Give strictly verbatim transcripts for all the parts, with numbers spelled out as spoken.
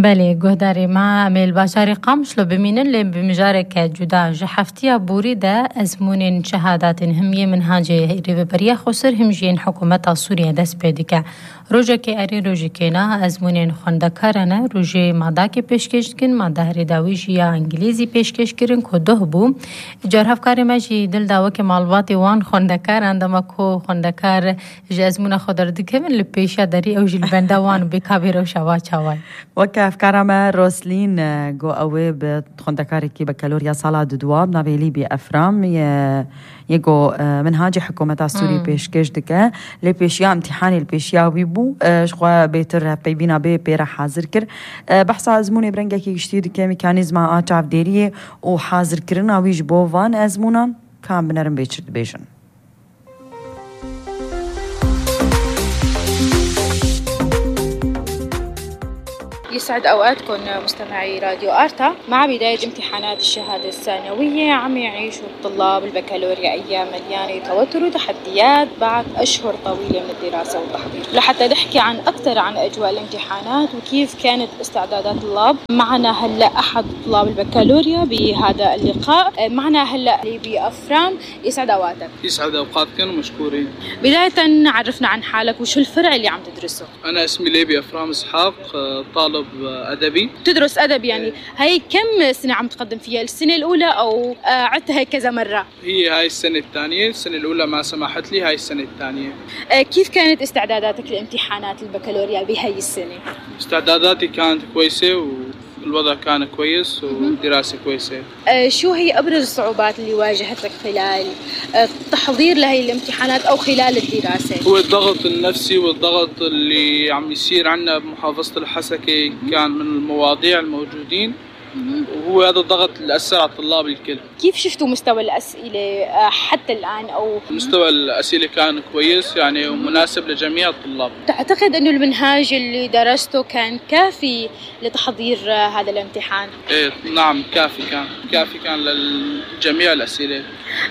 بله گهداری ما میل باشاری قامشلو بمینن لی بمجارک جدا جحفتیا بوری ده ازمونین شهادات همیه منهاجه ریبریا خسر همجین حکومت سوریه دست پیدکه روزه که اری روزه که نه ازمونین خواندکارانه روزه ماده که پیشکش کن ماده هریداویش یا انگلیزی پیشکش کرن که ده بو جرهف کاری ماجی دل داو که مالواتی وان خواندکار اندما کو خواندکار جازمون خودر دکمن لپیشا داری او جل بندوان بکابیرو شوا چوای وكا أفكارما روسلين جو أوي بخندكاري كي بكالوريا صلاة دواب نافيلي بأفرام يجو منهاج حكومة السوري بيشكش دكا لي بيشيا امتحاني البيشيا ويبو شخوا بيتر بيبينا بي بيرا حاضر كر بحث أزموني برنجا كي يشتي دكا ميكانيزما آتشاف ديريه وحاضر كرنا ويج بوفان أزمونا كان بنرم بيشرد بيشن يسعد أوقاتكم مستمعي راديو آرتا. مع بداية امتحانات الشهادة الثانوية عم يعيشوا الطلاب البكالوريا أيام مليانة توتر وتحديات بعد أشهر طويلة من الدراسة والتحضير. لحتى نحكي عن أكثر عن أجواء الامتحانات وكيف كانت استعدادات الطلاب معنا هلأ أحد طلاب البكالوريا بهذا اللقاء. معنا هلأ ليبي أفرام. يسعد أوقاتك. يسعد أوقاتكم ومشكورين. بداية عرفنا عن حالك وشو الفرع اللي عم تدرسه. أنا اسمي ليبي أفرام إسحاق، طالب أدبي. تدرس أدب يعني. هاي كم سنة عم تقدم فيها؟ السنة الأولى أو عدتها كذا مرة؟ هي هاي السنة الثانية. السنة الأولى ما سمحت لي، هاي السنة الثانية. كيف كانت استعداداتك لامتحانات البكالوريا بهاي السنة؟ استعداداتي كانت كويسة والوضع كان كويس والدراسة كويسة. شو هي أبرز الصعوبات اللي واجهتك خلال التحضير لهي الامتحانات أو خلال الدراسة؟ هو الضغط النفسي والضغط اللي عم يصير عنا بمحافظة الحسكة كان من المواضيع الموجودين، وهو هذا الضغط اللي أثر على الطلاب الكل. كيف شفتوا مستوى الأسئلة حتى الآن؟ أو مستوى الأسئلة كان كويس يعني ومناسب لجميع الطلاب. تعتقد أنه المنهاج اللي درسته كان كافي لتحضير هذا الامتحان؟ إيه نعم كافي كان كافي كان لجميع الأسئلة.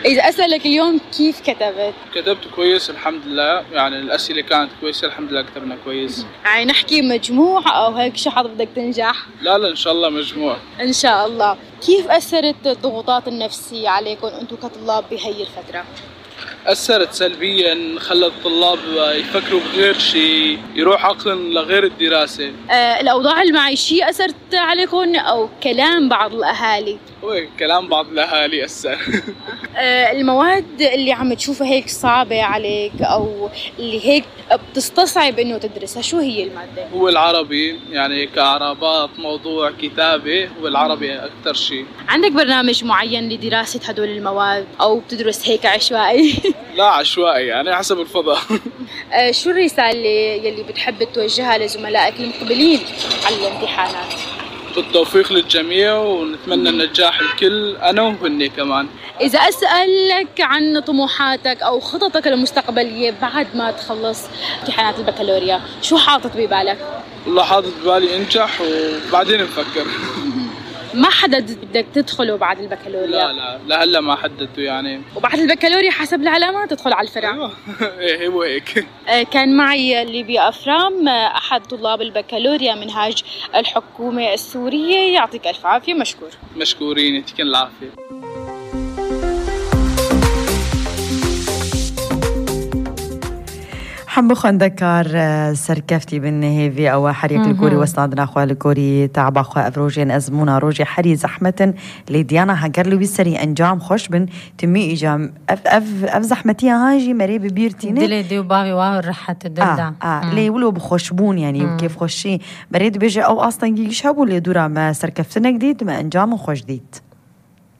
إذا أسألك اليوم كيف كتبت؟ كتبت كويس الحمد لله، يعني الأسئلة كانت كويسة الحمد لله كتبنا كويس. يعني نحكي مجموع أو هيك شو حظ بدك تنجح؟ لا لا إن شاء الله مجموع. إن شاء الله. كيف أثرت الضغوطات النفسية عليكم أنتم كطلاب بهي الفترة؟ أثرت سلبيا، خلت الطلاب يفكروا بغير شيء، يروح عقلهم لغير الدراسة. آه الأوضاع المعيشية أثرت عليكم أو كلام بعض الأهالي؟ هو كلام بعض الأهالي أثر. آه المواد اللي عم تشوفها هيك صعبة عليك أو اللي هيك بتستصعب إنه تدرسها شو هي المادة؟ هو العربي، يعني كإعرابات موضوع كتابة هو العربي أكثر شيء. عندك برنامج معين لدراسة هدول المواد أو بتدرس هيك عشوائي؟ لا عشوائي يعني حسب الفضاء. آه شو الرسالة يلي بتحب توجهها لزملائك المقبلين على الامتحانات؟ بالتوفيق للجميع ونتمنى النجاح الكل أنا وهن كمان. إذا أسألك عن طموحاتك أو خططك المستقبلية بعد ما تخلص امتحانات البكالوريا شو حاطط ببالك؟ والله حاطط ببالي أنجح وبعدين نفكر. ما حدد بدك تدخله بعد البكالوريا؟ لا لا لهلا ما حددته يعني. وبعد البكالوريا حسب العلامات تدخل على الفرع. ايوه ايه هو هيك. كان معي ليبي أفرام أحد طلاب البكالوريا منهاج الحكومة السورية. يعطيك ألف عافية. مشكور. مشكورين يعطيكم العافية. حب خندكار سركفتي بالنهيفي أو حريق الكوري واستعدنا أخوة الكوري تعب أخوة أفروجين أزمونا روجي حري زحمة لديانا هجر له بيسري أنجام خوش بن تمي إجام أف أف أف زحمتي هاجي مري ببيرتيني دلي ديو بابي واو رحت الدلدا آه آه ليه ولو بخشبون يعني مم. وكيف خوشي بريد بيجي أو أصلا يشهبوا اللي دورا ما سركفتنا جديد ما أنجام خوش جديد.